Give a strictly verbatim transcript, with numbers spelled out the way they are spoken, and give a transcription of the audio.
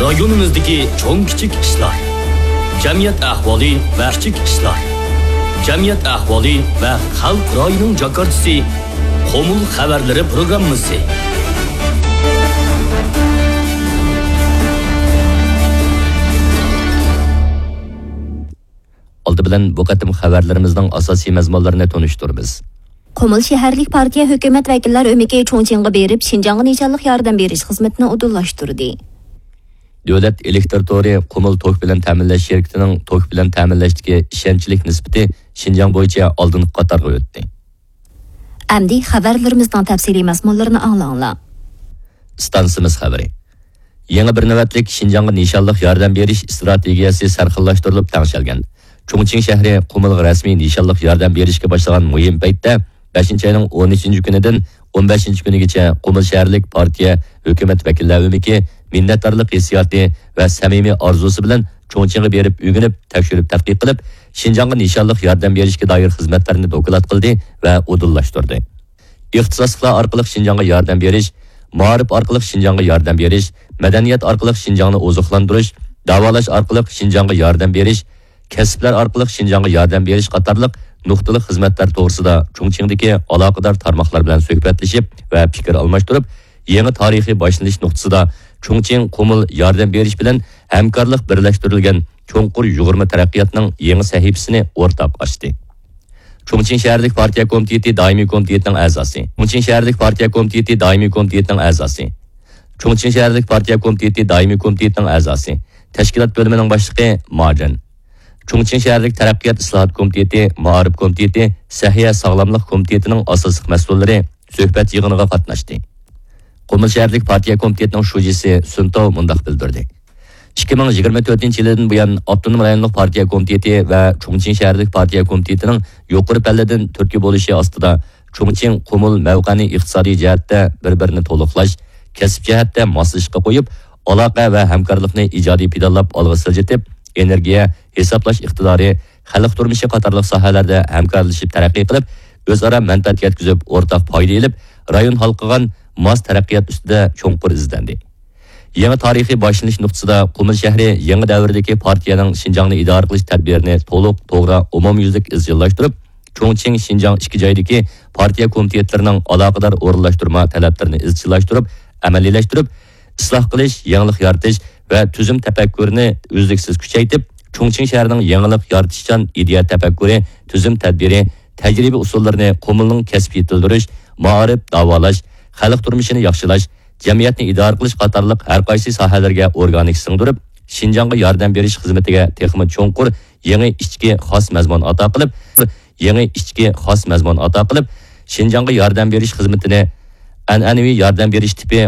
رايونىمىزدىكى چوڭ كىچىك ئىشلار، جەمئىيەت ئەھۋالى ۋە كىچىك ئىشلار، جەمئىيەت ئەھۋالى ۋە خەلق رايىنىڭ جاكارچىسى، قۇمۇل خەۋەرلىرى پروگراممىسى. ئالدى بىلەن بۇ قېتىم خەۋەرلىرىمىزنىڭ ئاساسىي مەزمۇنلىرىنى تونۇشتۇرىمىز. قۇمۇل شەھەرلىك پارتىيە ھۆكۈمەت ۋەكىللەر ئۆمىكى چۇڭچىڭغا بېرىپ، شىنجاڭغا نىشانلىق ياردەم بېرىش خىزمىتىنى ئۇدۇللاشتۇردى. دۆلەت ئېلېكتر تورى قۇمۇل توك بىلەن تەمىنلەش شىركىتىنىڭ توك بىلەن تەمىنلەشتىكى ئىشەنچلىك نىسبىتى شىنجاڭ بويىچە ئالدىنقى قاتارغا ئۆتتى. ئەمدى خەۋەرلىرىمىزنىڭ تەپسىلىي مەزمۇنلىرىنى ئاڭلاڭلار. ئىستانسىمىز خەۋىرى. يېڭى بىر نۆۋەتلىك شىنجاڭغا نىشانلىق ياردەم بېرىش ئىستراتېگىيەسى سەرخىللاشتۇرۇلۇپ تەڭشەلگەن. چۇڭچىڭ شەھىرى قۇمۇلغا رەسمىي نىشانلىق ياردەم بېرىشكە باشلىغان مۇھىم پەيتتە، بەشىنچى ئاينىڭ ئون ئۈچىنچى كۈنىدىن ئون بەشىنچى كۈنىگىچە قۇمۇل شەھەرلىك پارتىيە ھۆكۈمەت ۋەكىللەر ئۆمىكى مىننەتدارلىق ھېسسىياتى ۋە سەمىمىي ئارزۇسى بىلەن چۇڭچىڭغا بېرىپ ئۆگىنىپ، تەكشۈرۈپ تەتقىق قىلىپ، شىنجاڭغا نىشانلىق ياردەم بېرىشكە دائىر خىزمەتلەرنى دوكلات قىلدى ۋە ئۇدۇللاشتۇردى. ئىختىساسلىقلار ئارقىلىق شىنجاڭغا ياردەم بېرىش، مائارىپ ئارقىلىق شىنجاڭغا ياردەم بېرىش، مەدەنىيەت ئارقىلىق شىنجاڭنى ئوزۇقلاندۇرۇش، داۋالاش ئارقىلىق شىنجاڭغا ياردەم بېرىش، كەسىپلەر ئارقىلىق شىنجاڭغا ياردەم بېرىش قاتارلىق نۇقتىلىق خىزمەتلەر توغرىسىدا چۇڭچىڭدىكى ئالاقىدار تارماقلار بىلەن سۆھبەتلىشىپ ۋە پىكىر ئالماشتۇرۇپ، يېڭى تارىخىي باشلىنىش نۇقتىسىدا چۇڭچىڭ قۇمۇل ياردەم بېرىش بىلەن ھەمكارلىق بىرلەشتۈرۈلگەن چوڭقۇر يۇغۇرما تەرەققىياتنىڭ يېڭى سەھىپىسىنى ئورتاق ئاچتى. چۇڭچىڭ شەھەرلىك پارتىيە كومىتېتى دائىمىي كومىتېتىنىڭ ئەزاسى. چۇڭچىڭ شەھەرلىك پارتىيە كومىتېتى دائىمىي كومىتېتىنىڭ ئەزاسى. چۇڭچىڭ شەھەرلىك پارتىيە كومىتېتى دائىمىي كومىتېتىنىڭ ئەزاسى. تەشكىلات بۆلۈمىنىڭ باشلىقى ماجېن. چۇڭچىڭ شەھەرلىك تەرەققىيات ئىسلاھات كومىتېتى، مائارىپ كومىتېتى، سەھىيە ساغلاملىق كومىتېتىنىڭ ئاساسلىق مەسئۇللىرى سۆھبەت يىغىنىغا قاتناشتى. قۇمۇل شەھەرلىك پارتىيە كومىتېتىنىڭ شۇجىسى سۈنتاۋ مۇنداق بىلدۈردى: ئىككى مىڭ يىگىرمە تۆتىنچى يىلىدىن بۇيان، ئاپتونوم رايونلۇق پارتىيە كومىتېتى ۋە چۇڭچىڭ شەھەرلىك پارتىيە كومىتېتىنىڭ يۇقىرى پەللىدىن تۈرتكە بولۇشى ئاستىدا، چۇڭچىڭ قۇمۇل مەۋقەنى ئىقتىسادىي جەھەتتە بىر-بىرىنى تولۇقلاش، كەسىپ جەھەتتە ماسلىشىشقا قويۇپ، ئالاقە ۋە ھەمكارلىقنى ئىجادىي پىدالىپ ئالغا سىلجىتىپ، ئېنېرگىيە، ھېسابلاش ئىقتىدارى، خەلق تۇرمۇشى قاتارلىق ساھەلەردە ھەمكارلىشىپ تەرەققىي قىلىپ، ئۆزئارا مەنپەئەت يەتكۈزۈپ، ئورتاق پايدا ئېلىپ، رايون ھالقىغان ماس تەرەققىيات ئۈستىدە چوڭقۇر ئىزدەندى. يېڭى تارىخىي باشلىنىش نۇقتىسىدا قۇمۇل شەھىرى يېڭى دەۋردىكى پارتىيەنىڭ شىنجاڭنى ئىدارە قىلىش تەدبىرىنى تولۇق، توغرا، ئومۇميۈزلۈك ئىزچىللاشتۇرۇپ، چۇڭچىڭ، شىنجاڭ ئىككى جايدىكى پارتىيە كومىتېتلىرىنىڭ ئالاقىدار ئورۇنلاشتۇرما تەلەپلىرىنى ئىزچىللاشتۇرۇپ، ئەمەلىيلەشتۈرۈپ، ئىسلاھ قىلىش، يېڭىلىق يارىتىش ۋە تۈزۈم تەپەككۇرىنى ئۈزلۈكسىز كۈچەيتىپ، چۇڭچىڭ شەھىرىنىڭ يېڭىلىق يارىتىشچان ئىدىيە تەپەككۇرى، تۈزۈم تەدبىرى، تەجرىبە ئۇسۇللىرىنى قۇمۇلنىڭ كەسىپ يېتىلدۈرۈش، مائارىپ، داۋالاش، خەلق تۇرمۇشىنى ياخشىلاش، جەمئىيەتنى ئىدارە قىلىش قاتارلىق ھەر قايسى ساھەلەرگە ئورگانىك سىڭدۈرۈپ، شىنجاڭغا ياردەم بېرىش خىزمىتىگە تېخىمۇ چوڭقۇر يېڭى ئىچكى خاس مەزمۇن ئاتا قىلىپ، يېڭى ئىچكى خاس مەزمۇن ئاتا قىلىپ، شىنجاڭغا ياردەم بېرىش خىزمىتىنى ئەنئەنىۋى ياردەم بېرىش تىپى